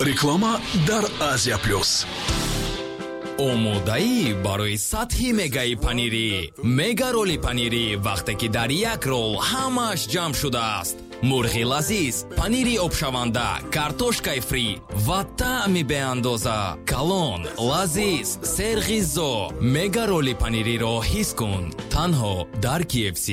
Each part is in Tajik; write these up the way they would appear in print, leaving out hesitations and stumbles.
Реклама дар Азия Плюс. Омодаӣ барои сатҳи мегаи панирӣ. Мега роли панирӣ, вақте ки дар як рол ҳамааш ҷамъ шудааст: мурғи лазиз, панири обшаванда, картошкаи фри ва таъми беандоза. Калон, лазиз, серғизо. Мега роли панириро ҳис кун танҳо дар KFC.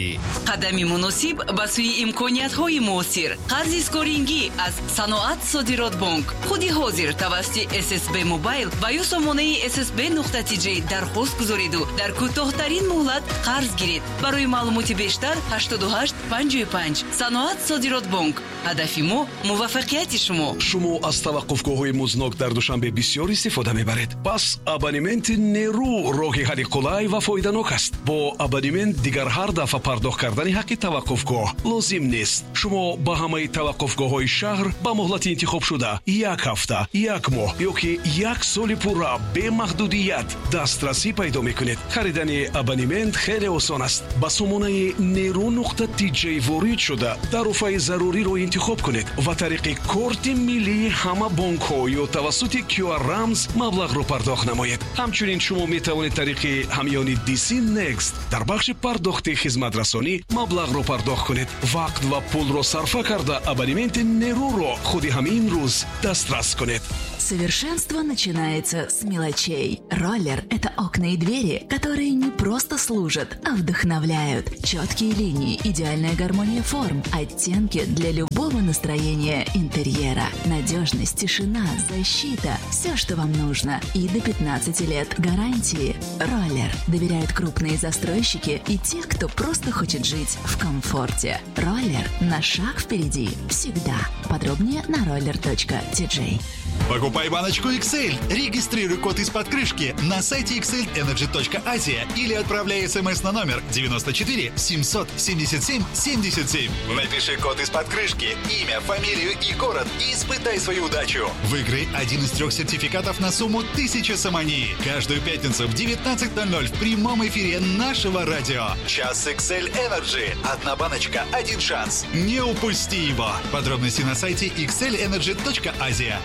Қадами муносиб ба сӯи имкониятҳои муосир. Қарзи скорингӣ аз Саноат Содиротбонк. Худи ҳозир тавассути ССБ Мобайл ва ё сомонаи ssb.tj дархост гузореду дар кӯтоҳтарин муҳлат қарз гиред. Барои маълумоти бештар 88 55. Саноат Содиротбонк, ҳадафи мо муваффақияти шумо. Шумо аз таваққуфгоҳҳои музнок дар Душанбе бисёр истифода мебаред. Пас абонементи Нерӯ роҳи ҳалли қулай ва фоиданок аст. Бо абонемент дигар ҳар дафъа пардохт кардани ҳаққи таваққуфгоҳ лозим нест. Шумо ба ҳамаи таваққуфгоҳҳои шаҳр ба муҳлати интихобшуда, як ҳафта, як моҳ ё ки як соли пурра, бемаҳдудият дастрасӣ пайдо мекунед. Харидани абонемент хеле осон аст. Ба сомонаи нерӯ.тj ворид шуда, тарофаи заруриро интихоб кунед ва тариқи корти миллии ҳама бонкҳо ё тавассути QR рамз маблағро пардохт намоед. Ҳамчунин шумо метавонед тариқи ҳамёни DC Next дар бахши пардохти хизматрасонӣ маблағро пардохт кунед. Вақт ва пулро сарфа карда, абонементи Нерӯро худи ҳамин рӯз дастрас кунед. Совершенство начинается с мелочей. Роллер – это окна и двери, которые не просто служат, а вдохновляют. Четкие линии, идеальная гармония форм, оттенки для любого настроения интерьера. Надежность, тишина, защита – все, что вам нужно. И до 15 лет гарантии. Роллер. Доверяют крупные застройщики и те, кто просто хочет жить в комфорте. Роллер на шаг впереди. Всегда. Подробнее на roller.tj. Покупай баночку XL. Регистрируй код из-под крышки на сайте xlenergy.asia или отправляй смс на номер 94 777 77. Напиши код из-под крышки, имя, фамилию и город и испытай свою удачу. Выиграй один из трех сертификатов на сумму 1000 сомони. Каждую пятницу в 19:00 в прямом эфире нашего радио. Час XL Energy. Одна баночка, один шанс. Не упусти его. Подробности на сайте xlenergy.asia.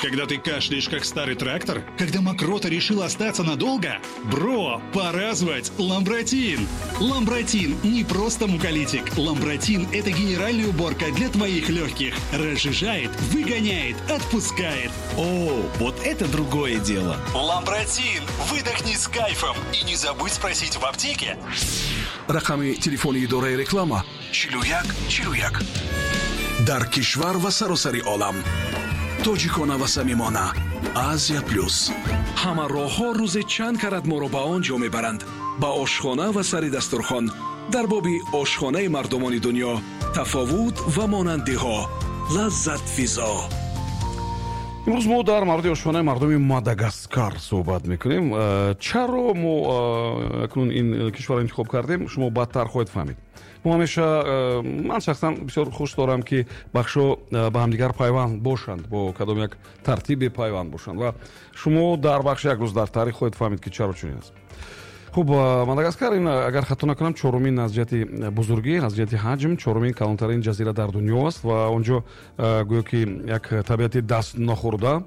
Когда ты кашляешь, как старый трактор? Когда мокрота решила остаться надолго? Бро, пора звать Ламбратин! Ламбратин не просто муколитик. Ламбратин – это генеральная уборка для твоих легких. Разжижает, выгоняет, отпускает. О, вот это другое дело. Ламбратин! Выдохни с кайфом и не забудь спросить в аптеке. Рақами телефони идораи реклама: 41 41. Дар кишвар ва саросари олам тоҷикона ва самимона, Азия Плюс. Ҳама роҳҳо рӯзе чанд карат моро ба он ҷо мебаранд, ба ошхона ва сари дастурхон. Дар боби ошхонаи мардумони дунё, тафовут ва монандиҳо, лаззатфизо. Имрӯз мо дар мавриди ошхонаи мардуми Мадагаскар суҳбат мекунем. Чаро мо акнун ин кишварро интихоб кардем, шумо баъдтар хоҳед фаҳмид. Мо ҳамеша, ман шахсан бисёр хуш дорам, ки бахшҳо ба ҳамдигар пайванд бошанд, бо кадом як тартибе пайванд бошанд, ва шумо дар бахши «Як рӯз дар таърих» хоҳед фаҳмид, ки чаро чунин аст. Хуб, Мадагаскар ин, агар хато накунам, чорумин аз ҷиҳати бузургӣ, аз ҷиҳати ҳаҷм чорумин калонтарин ҷазира дар дунё аст ва он ҷо гӯё ки як табиати даст нахӯрда,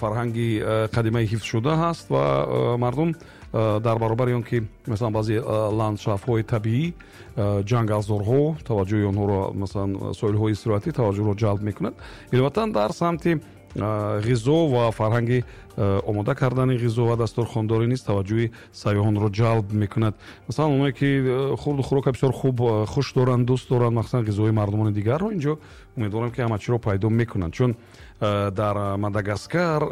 фарҳанги қадимаи ҳифзшуда ҳаст ва мардум дар баробари он ки, масалан, баъзе ландшафтҳои табиӣ, ҷангалзорҳо таваҷҷӯҳи онҳоро, масалан, соҳилҳои истироҳатӣ таваҷҷӯҳро ҷалб мекунад, иловатан дар самти ғизо ва фарҳанги омода кардани ғизо ва дастурхондорӣ низ таваҷҷӯҳи сайёҳонро ҷалб мекунад. Масалан, оное ки хурду хӯрока бисёр хуб хуш доранд, дӯст доранд, махсусан ғизои мардумони дигарро, инҷо умедворам, ки ҳама чиро пайдо мекунанд, чун дар Мадагаскар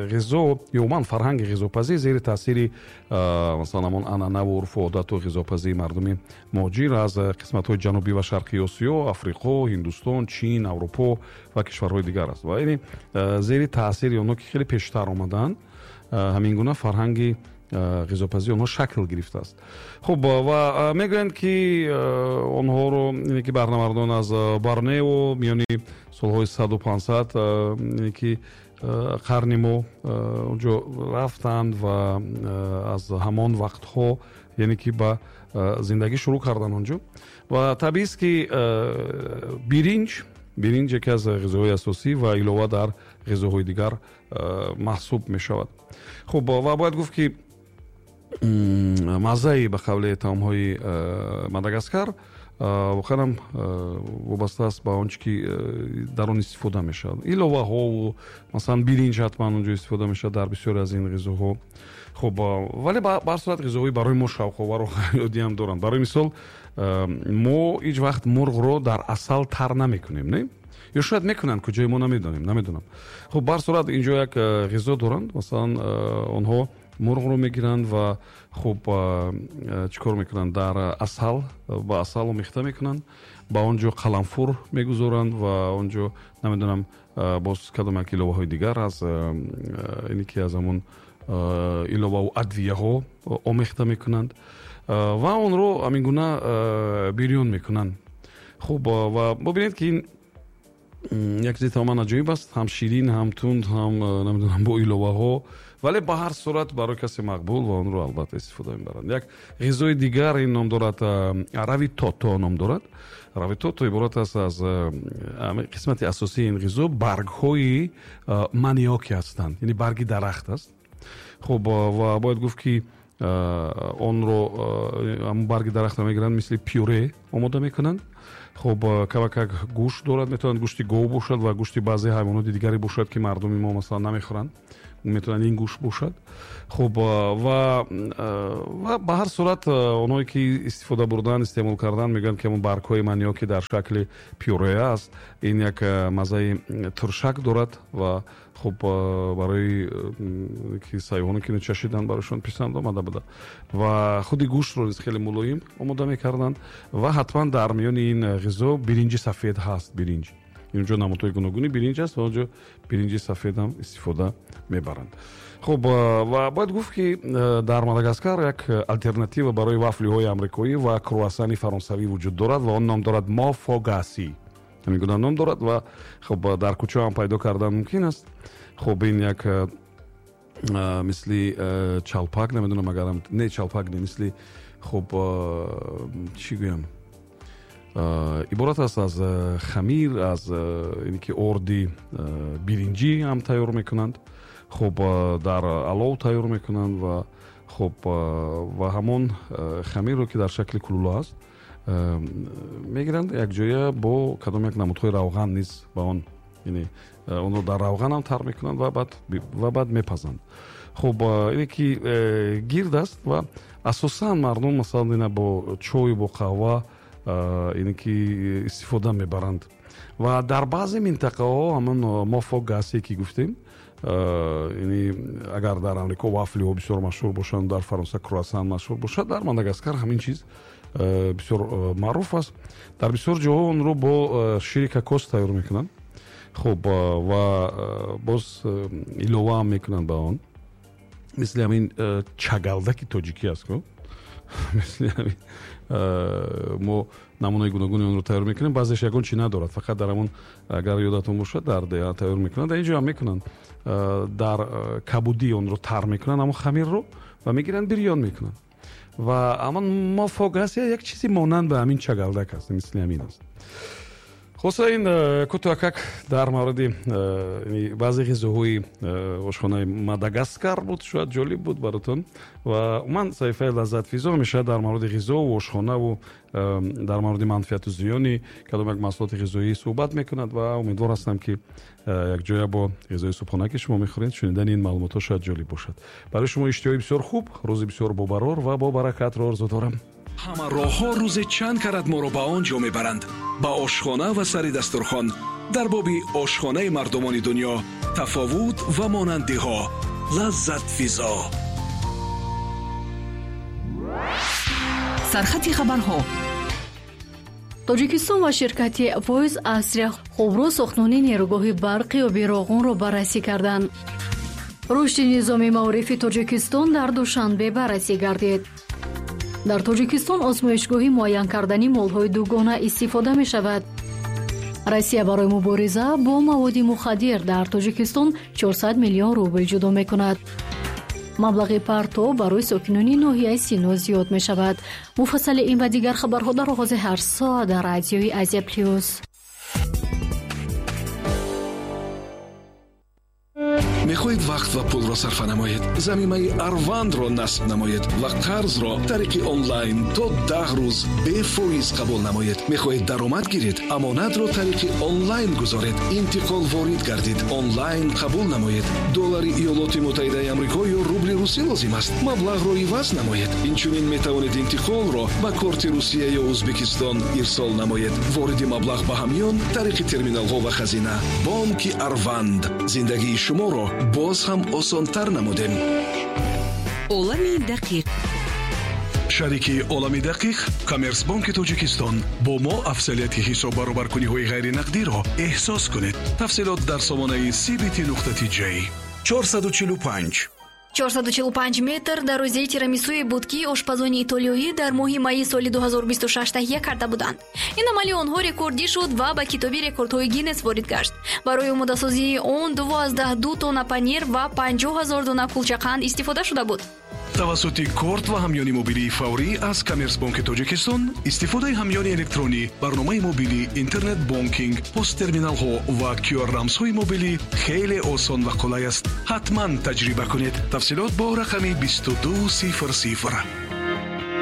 ғизо ё умуман фарҳанги ғизопазӣ зери таъсири, масалан, ҳамон анъанаву урфу одату ғизопазии мардуми муҳоҷир аз қисматҳои ҷанубӣ ва шарқии Осиё, Африқо, Ҳиндустон, Чин, Аврупо ва кишварҳои дигар аст. Ва яъне зери таъсири онҳо, ки хеле пештар омаданд, ҳамин гуна фарҳанги ғизопазии онҳо шакл гирифтааст. Хуб, ва мегӯянд, ки онҳоро, ки баҳрнавардон аз Борнео миёни солҳои 100-500, ки қарни мо, онҷо рафтанд ва аз ҳамон вақтҳо, яъне ки ба зиндагӣ шурӯъ карданд онҷо. Ва табиист, ки биринҷ Биринҷ яке аз ғизоҳои асосӣ ва илова дар ғизоҳои дигар маҳсуб мешавад. Хуб, ва бояд гуфт, ки маззаи, ба қавли, таомҳои Мадагаскар воқеан вобаста аст ба он чи ки дар он истифода мешавад, иловаҳову масалан биринҷ ҳатман онҷо истифода мешавад дар бисёре аз ин ғизоҳо. Хуб, вале ба ҳар сурат ғизоҳои барои мо шавқовару ғайриоддӣ ҳам доранд. Барои мисол, мо ҳеҷ вақт мурғро дар асал тар намекунем, не? Ё шояд мекунанд, куҷои мо намедонем, намедонам. Хуб, ба ҳар сурат инҷо як ғизо доранд. Масалан, онҳо мурғро мегиранд ва, хуб, чӣ кор мекунанд? Дар асал, ба асал омехта мекунанд, ба он ҷо қаламфур мегузоранд ва он ҷо, намедонам, боз кадом як иловаҳои дигар аз ине ки аз ҳамон иловаву адвияҳо омехта мекунанд ва онро ҳамин гуна бирён мекунанд. Хуб, ва бубинед, ки ин як чизи тамоман аҷоиб аст, ҳам ширин, ҳам тунд, ҳам, намедонам, бо иловаҳо, вале ба ҳар сурат барои касе мақбул ва онро албатта истифода мебаранд. Як ғизои дигар ин ном дорад, равитото ном дорад. Равитото иборат аст аз қисмати асосии ин ғизо баргҳои маниоки ҳастанд, яъне барги дарахт аст. Хуб, ва бояд гуфт, ки онро, ҳамон барги дарахтро мегиранд, мисли пюре омода мекунанд. Хуб, камакак гӯшт дорад, метавонад гӯшти гов бошад ва гӯшти баъзе ҳайвоноти дигаре бошад, ки мардуми мо масалан намехӯранд, метавонад ин гӯшт бошад. Хуб, ва ба ҳар сурат онҳое ки истифода бурдан, истеъмол кардан, мегӯянд, ки ҳамон баргҳои маниоки дар шакли пюре аст, ин як маззаи туршак дорад ва, хуб, барои ки сайёҳоне ки чашиданд, барояшон писанд омада буда. Ва худи гӯштро низ хеле мулоим омода мекарданд ва ҳатман дар миёни ин ғизо биринҷи сафед ҳаст. Биринҷ инҷо намудҳои гуногуни биринҷ аст ва онҷо биринҷи сафед ҳам истифода мебаранд. Хуб, ва бояд гуфт, ки дар Мадагаскар як алтернатива барои вафлиҳои амрикоӣ ва круассани фаронсавӣ вуҷуд дорад ва он ном дорад мофогаси, ҳамин гуна ном дорад. Ва, хуб, дар кӯча ҳам пайдо кардан мумкин аст. Хуб, ин як мисли чалпак, намедонам, агарам не, чалпак не, мисли, хуб, чӣ гӯям, иборат аст аз хамир, аз ине ки орди биринҷӣ ҳам тайёр мекунанд. Хуб, дар алов тайёр мекунанд ва, хуб, ва ҳамон хамирро, ки дар шакли кулула аст, мегиранд, якҷоя бо кадом як намудҳои равған низ ба он, яъне онро дар равған ҳам тар мекунанд ва баъд мепазанд. Хуб, ине ки гирд аст ва асосан мардум, масалан, ина бо чою бо қаҳва ине ки истифода мебаранд. Ва дар баъзе минтақаҳо ҳамон мофогасе ки гуфтем, яъне агар дар Амрико вафлиҳо бисёр машҳур бошанд, дар Фаронса круассан машҳур бошад, дар Мадагаскар ҳамин чиз бисёр маъруф аст. Дар бисёр ҷоҳо онро бо шири кокос тайёр мекунанд. Хуб, ва боз илова ҳам мекунанд ба он, мисли ҳамин чагалдаки тоҷикӣ аст ку, мисли ҳамин мо намунаи гуногуни онро тайёр мекунем. Баъзеш ягон чи надорад, фақат дар ҳамон, агар ёдатон бошад, дар деҳа тайёр мекунанд, дар ин ҷо ҳам мекунанд, дар кабудӣ онро тар мекунанд, ҳамон хамирро, ва мегиранд, бирён мекунанд. Ва ҳамон мофогасия як чизи монанд ба ҳамин чагалдак аст, мисли ҳамин аст. Хулоса, ин кӯтоҳакак дар мавриди баъзе ғизоҳои ошхонаи Мадагаскар буд. Шояд ҷолиб буд баротон. Ва умуман саҳифаи Лаззатфизо ҳамеша дар мавриди ғизову ошхонаву дар мавриди манфиату зиёни кадом як маҳсулоти ғизоӣ суҳбат мекунад ва умедвор ҳастам, ки якҷоя бо ғизои субҳона, ки шумо мехӯред, шунидани ин маълумотҳо шояд ҷолиб бошад барои шумо. Иштиҳои бисёр хуб, рӯзи бисёр бобарор ва бобаракатро орзу дорам. Ҳама роҳҳо рӯзе чанд карат моро ба он ҷо мебаранд, ба ошхона ва сари дастурхон. Дар боби ошхонаи мардумони дунё, тафовут ва монандиҳо. Лаззатфизо. Сархати хабарҳо. Тоҷикистон ва ширкати Voice Austria хубро сохтмони нерӯгоҳи барқи оби Роғунро баррасӣ карданд. Рушди низоми маорифи Тоҷикистон дар Душанбе баррасӣ гардид. Дар Тоҷикистон озмоишгоҳи муайян кардани молҳои дугона истифода мешавад. Россия барои мубориза бо маводи мухаддир дар Тоҷикистон 400 миллион рубл ҷудо мекунад. Маблағи партов барои сокинони ноҳияи Сино зиёд мешавад. Муфассали ин ва дигар хабарҳо дар оғози ҳар соат дар радиои Азия Плюс. Мехоҳед вақт ва пулро сарфа намоед? Замимаи Арвандро насб намоед ва қарзро тариқи онлайн то 10 рӯз бефоиз қабул намоед. Мехоҳед даромад гиред? Амонатро тариқи онлайн гузоред, интиқол ворид гардид, онлайн қабул намоед. Доллари Иёлоти Муттаҳидаи Амрико ё рубли русӣ лозим аст? Маблағро иваз намоед. Инчунин метавонед интиқолро ба корти Русия ё Ӯзбекистон ирсол намоед. Вориди маблағ ба ҳамён тариқи терминалҳо ва хазина. Бонки Арванд. Зиндагии шуморо боз ҳам осонтар намудем. Олами дақиқ. Шарики Олами дақиқ Коммерсбонки Тоҷикистон. Бо мо афзалияти ҳисоббаробаркуниҳои ғайринақдиро эҳсос кунед. Тафсилот дар сомонаи cbt.tj. 445. 445 метр дарозии тирамисуе буд, ки ошпазони итолиёӣ дар моҳи майи соли 2026 таҳия карда буданд. Ин амали онҳо рекордӣ шуд ва ба китоби рекордҳои Гиннес ворид гашт. Барои омодасозии он 22 тонна панир ва 50 ҳазор дона кулчақанд истифода шуда буд. Тавассути корт ва ҳамёни мобилии фаврӣ аз Коммерсбонки Тоҷикистон истифодаи ҳамёни электронӣ, барномаи мобилӣ, интернет бонкинг, посттерминалҳо ва QR рамзҳои мобилӣ хеле осон ва қулай аст. Ҳатман таҷриба кунед. Тафсилот бо рақами 2200.